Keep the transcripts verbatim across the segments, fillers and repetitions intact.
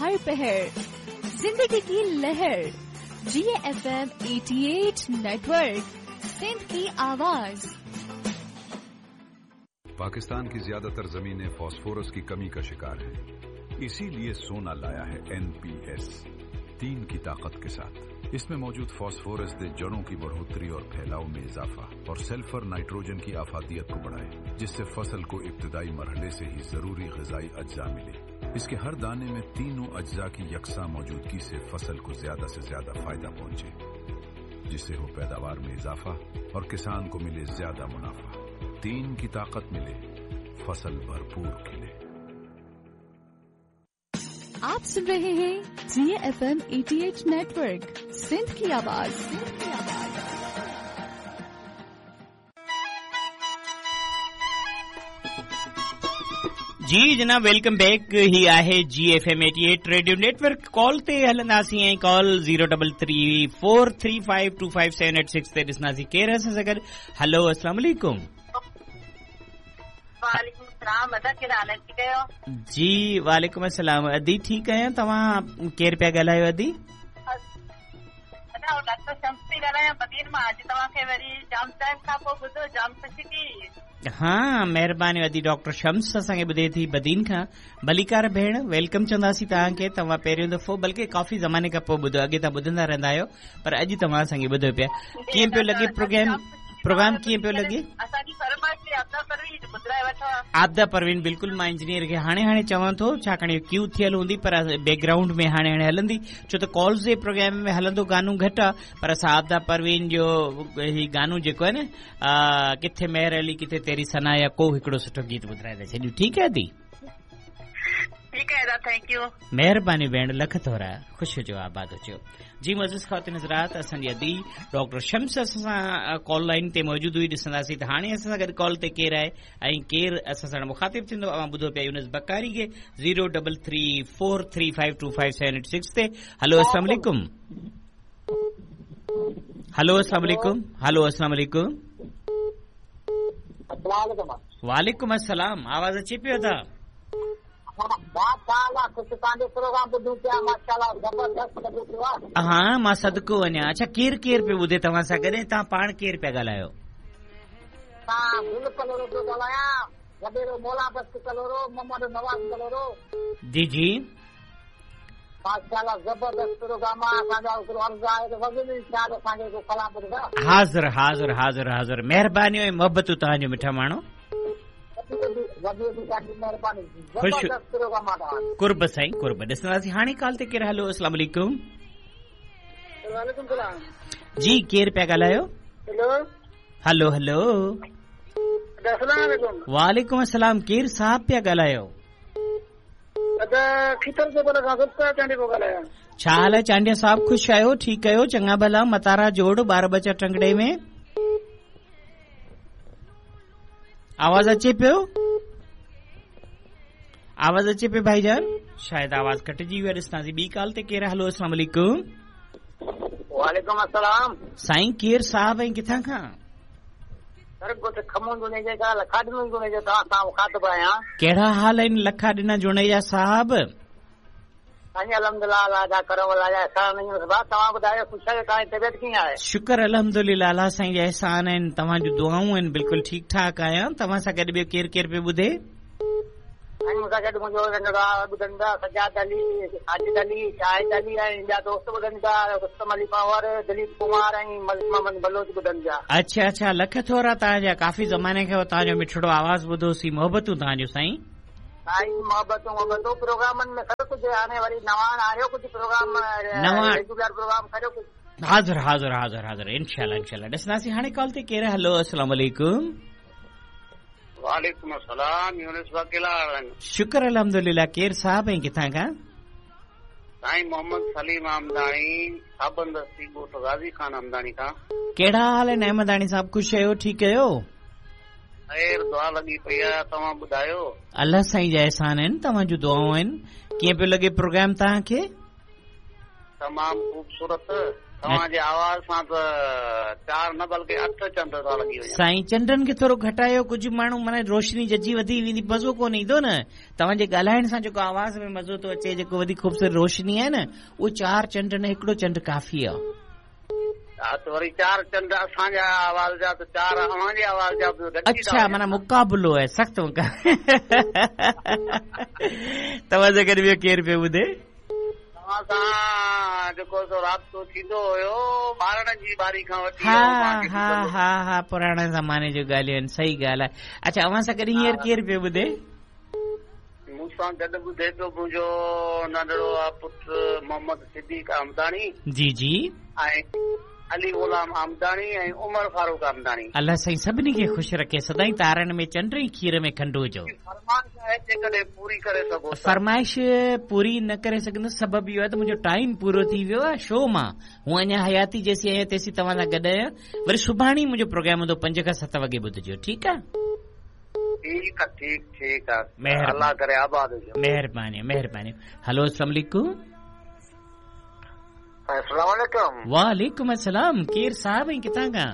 हर पहर, जिंदगी की लहर। जी एफ एम अठासी नेटवर्क, सिंध की आवाज। पाकिस्तान की ज्यादातर जमीनें फास्फोरस की कमी का शिकार हैं, इसीलिए सोना लाया है एन पी एस तीन की ताकत के साथ। इसमें मौजूद फास्फोरस दे जड़ों की बढ़ोतरी और फैलाव में इजाफा और सल्फर नाइट्रोजन की आफादियत को बढ़ाए, जिससे फसल को इब्तदाई मरहले से ही जरूरी ग़िज़ाई अज्जा मिले। इसके हर दाने में तीनों अज्जा की यकसा मौजूदगी से फसल को ज्यादा से ज्यादा फायदा पहुंचे, जिससे हो पैदावार में इजाफा और किसान को मिले ज्यादा मुनाफा। तीन की ताकत मिले, फसल भरपूर खिले। आप सुन रहे हैं जी एफ एम अठासी नेटवर्क, सिंध की आवाज। सिंध की आवाज। जी जनाब, welcome back. ही आहे जी एफ एम अठासी रेडियो नेटवर्क। कॉल ते हलंदासीं ऐं call zero double three four three five two five seven eight six ते ॾिसंदासीं केरु असां सां गॾु। हलो, अस्सलाम वालेकुम। वालेकुम सलाम। अदा केड़ा हाल ठीक आहियो? जी वालेकुम अस्सलाम। अदी ठीक आहियां, तव्हां केरु पिया ॻाल्हायो अदी? अदा डॉक्टर शम्स थी ॻाल्हायां बदीन मां। अॼु तव्हांखे वरी जाम टाइम खां पोइ ॿुधो, जाम ख़ुशी थी। हा, महिरबानी अदी। डॉक्टर शम्स असांखे ॿुधे थी बदीन खां। भलीकार भेण, welcome चवंदासीं तव्हांखे। तव्हां पहिरियों दफ़ो, बल्कि काफ़ी ज़माने खां पोइ ॿुधो, अॻे तव्हां ॿुधंदा रहंदा आहियो, पर अॼु तव्हां असांखे ॿुधो पिया। कीअं पियो लॻे प्रोग्राम? प्रोग्राम कीअं पियो लॻे? आबदा परवीन, बिल्कुलु मां इंजीनियर खे हाणे हाणे चवां थो, छाकाणि क्यू थियल हूंदी, पर बैकग्राउंड में हाणे हाणे हलंदी, छो त कॉल्स जे प्रोग्राम में हलंदो गानो घटि आहे, पर असां आबदा परवीन जो ही गानो जेको आहे न, किथे मेहर अली किथे तेरी सना, या को हिकिड़ो सुठो गीत ॿुधाए था छॾियूं। ठीकु आहे दी? ठीकु आहे दादा, thank you. महिरबानी भेण, लख थोरा, ख़ुशि हुजो, आबाद हुजो। जी मज़ीद ख़वातीन हज़रात, असांजी अदी डॉक्टर शम्स असां सां कॉल लाइन ते मौजूदु हुई। ॾिसंदासीं त हाणे असां सां गॾु कॉल ते केरु आहे ऐं केरु असां सां मुखातिब थींदो। अवां ॿुधो पिया यूनुस बकारी खे zero double three four three five two five seven eight six ते। हलो, अस्सलाम वालेकुम। हलो, अस्सलाम वालेकुम। हलो, अस्सलाम वालेकुम। वालेकुम अस्सलाम। आवाज़ अचे पियो था? हा, मां सदको वञा। अच्छा, केरु केरु पियो ॿुधे तव्हां सां गॾु? तव्हां पाण केरु पिया ॻाल्हायो? जी जी, हाज़िर हाज़िर हाज़िर हाज़िर। महिरबानी ऐं मोहबतूं तव्हांजो मिठा माण्हू। ख़ुशि कुर्ब साईं, कुर्ब। ॾिसंदासीं हाणे कॉल ते केरु। हलो, अस्सलाम वालेकुम। जी केरु पिया ॻाल्हायो? हलो हलो, वालेकुम अस्सलाम। केरु साहब पिया ॻाल्हायो? छा हाल आहे चांडिया साहब? ख़ुशि आहियो? ठीकु आहियो? चङा भला? मतारा जोड़ ॿार बच्चा टंगड़े में? आवाज़ अचे पियो? आवाज़ अचे पियो भाईजान? शायदि आवाज़ कटिजी वियो आहे। ॾिसंदासीं ॿी कॉल ते केरु। हलो, अस्सलाम वालेकुम। वालेकुम अस्सलाम। साईं केरु साहब ऐं किथां खां? कहिड़ा हाल आहिनि लखा ॾिना जुणेजा साहब? शुक्र अल्हम्दुलिल्लाह, अल्लाह साईं जा एहसान आहिनि, तव्हां जूं दुआऊं आहिनि, बिल्कुलु ठीकु ठाक आहियां। तव्हां सां गॾु ॿियो केरु केरु पियो ॿुधे? मूंसां गॾु मुंहिंजो नंढो ॿुधनि था, सजाद अली, साजिद अली, शाहिद अली ऐं ॿिया दोस्त ॿुधनि था, रुस्तम अली पंवर, दिलीप कुमार ऐं मलिक मोहम्मद बलोच ॿुधनि पिया। अच्छा अच्छा, लख थोरा तव्हांजा। काफ़ी ज़माने खां तव्हांजो मिठड़ो आवाज़ ॿुधोसीं। मोहबतूं तव्हांजो साईं। साईं मोहबतूं मोहबतूं प्रोग्रामनि में सभु कुझु। हाणे वरी नवां आयो कुझु प्रोग्राम, नवां रेगुलर प्रोग्राम करियो कुझु। हाज़िर हाज़िर हाज़िर हाज़िर, इंशाअल्लाह इंशाअल्लाह। ॾिसंदासीं हाणे कॉल ते केरु। हलो, अस्सलाम वालेकुम। वालेकुम अस्सलाम। यूनुस वकील। शुक्र अल्हम्दुलिल्लाह। केरु साहब ऐं किथां खां? साईं मोहम्मद सलीम अहमदानी, साबंदस्ती ॻोठ गाज़ी खान अहमदानी खां। कहिड़ा हाल आहिनि अहमदानी साहब? ख़ुशि आहियो? ठीकु आहियो? ख़ैर दुआ लॻी पई आहे, तव्हां ॿुधायो? अल्लाह साईं जा एहसान आहिनि, तव्हां जूं दुआऊं आहिनि। कीअं पियो लॻे प्रोग्राम तव्हांखे? तमामु ख़ूबसूरत। तव्हांजे आवाज़ सां त चार न बल्कि अठ चंड था लॻी वञनि। साईं चंडनि खे थोरो घटायो, कुझु माण्हू माना रोशनी जजी वधी वेंदी, मज़ो कोन ईंदो न। तव्हांजे ॻाल्हाइण सां जेको आवाज़ में मज़ो थो अचे, जेको वधीक ख़ूबसूरत रोशनी आहे न, उहो चार चंड न हिकिड़ो चंड काफ़ी आहे। हा त वरी चार चंड असांजा आवाज़ जा त चार अव्हांजे आवाज़ जा बि गॾिजी था अच्छा, वञनि। माना मुक़ाबिलो आहे, सख़्तु मुक़ाबिलो। तव्हां सां गॾु ॿियो केरु पियो ॿुधे? तव्हां सां जेको सो राब्तो थींदो हुयो ॿारनि जी ॿारी खां वठी हा ऐं मां हा हा हा, पुराणे ज़माने जूं ॻाल्हियूं आहिनि, सही ॻाल्हि आहे। अच्छा, अव्हां सां गॾु हींअर केरु पियो ॿुधे? मूंसां गॾु ॿुधे पियो मुंहिंजो नंढड़ो आहे पुटु मोहम्मद सिद्दीक़ अहमदानी। जी जी। ऐं अली ग़ुलाम अहमदानी ऐं उमर फारूक अहमदानी। अलाह साईं सभिनी खे ख़ुशि रखे, सदाईं तारनि में चंड ऐं खीर में खंड हुजो। फरमाइश आहे जेकॾहिं पूरी करे सघो त। फरमाइश पूरी न करे सघंदुसि, सबबु इहो आहे त मुंहिंजो टाइम पूरो थी वियो आहे शो मां। हूअं अञा हयाती जेसीं आहियां तेसीं तव्हां सां गॾु आहियां। वरी सुभाणे ई मुंहिंजो प्रोग्राम हूंदो पंज खां सत वॻे ॿुधजो, ठीकु आहे? ठीकु आहे, ठीकु ठीकु आहे। महिरबानी। अलाह करे आबाद हुजो। महिरबानी महिरबानी। हलो, अस्सलाम वालेकुम। अस्सलाम वालेकुम। वालेकुम अस्सलाम। केरु साहिब ऐं किथां खां?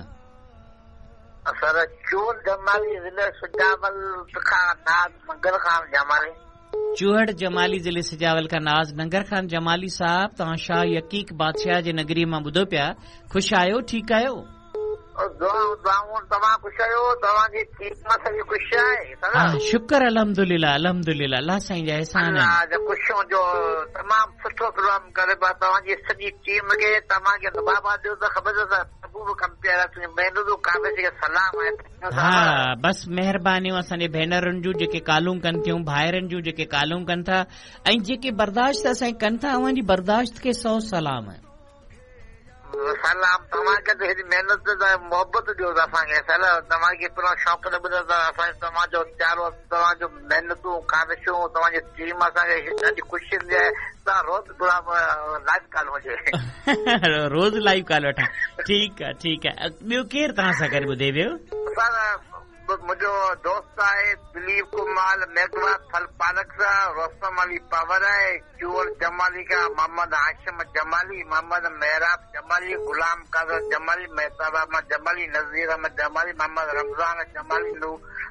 सर चूहड़ जमाली ज़िले सुजावल खां नाज़ मंगल खान जमाली। चूहड़ जमाली ज़िले सुजावल खां नाज़ नंगर खान जमाली साहिब, तव्हां शाह यकीक बादशाह जे नगरी मां ॿुधो पिया, ख़ुशि आहियो? ठीकु आहियो? दुआऊं दुआऊं, तव्हां ख़ुशि आहियो? तव्हांजी टीम सॼी ख़ुशि आहे सर? हा, शुक्र अल्हम्दुलिल्लाह अल्हम्दुलिल्लाह, अलाह साईं जा एहसान आहिनि। अलाह जा ख़ुशि हुजो, तमामु सुठो प्रोग्राम करे पिया। तव्हांजी सॼी टीम खे तव्हांखे बाबा ॾियो त ख़बर अथव महबूब कंपेयर आहे, महिनतूं काबिज़ खे सलाम आहे। हा, बसि महिरबानियूं असांजे भेनरुनि जूं जेके कॉलूं कनि थियूं, भाइरनि जूं जेके कॉलूं कनि था ऐं जेके बर्दाश्त असांजी कनि था, अव्हांजी बर्दाश्त खे सौ सलाम आहे। सलाम तव्हांखे त हेॾी महिनत मोहबत ॾियो असांखे सर, तव्हांखे पूरा शौक़ न ॿुधो त असांजे तव्हांजो प्यारो, तव्हांजो महिनतूं काविशूं, तव्हांजी टीम असांखे ॾाढी ख़ुशी थींदी आहे। तव्हां रोज़ लाइव कॉल हुजे। रोज़ लाइव कॉल वठां, ठीकु आहे ठीकु आहे। ॿियो केरु तव्हां सां गॾु ॿुधे पियो? सर मुंहिंजो दोस्त आहे दिलीप कुमार मेघवा फल पालक सां, रोस्तम अली पावर आहे, चूर जमाली खां मोहम्मद हाशिम जमाली, मोहम्मद मेहराब जमाली, गुलाम कादर जमाली, मेहताब अहमद जमाली, नज़ीर अहमद जमाली, मोहम्मद रमज़ान जमाली,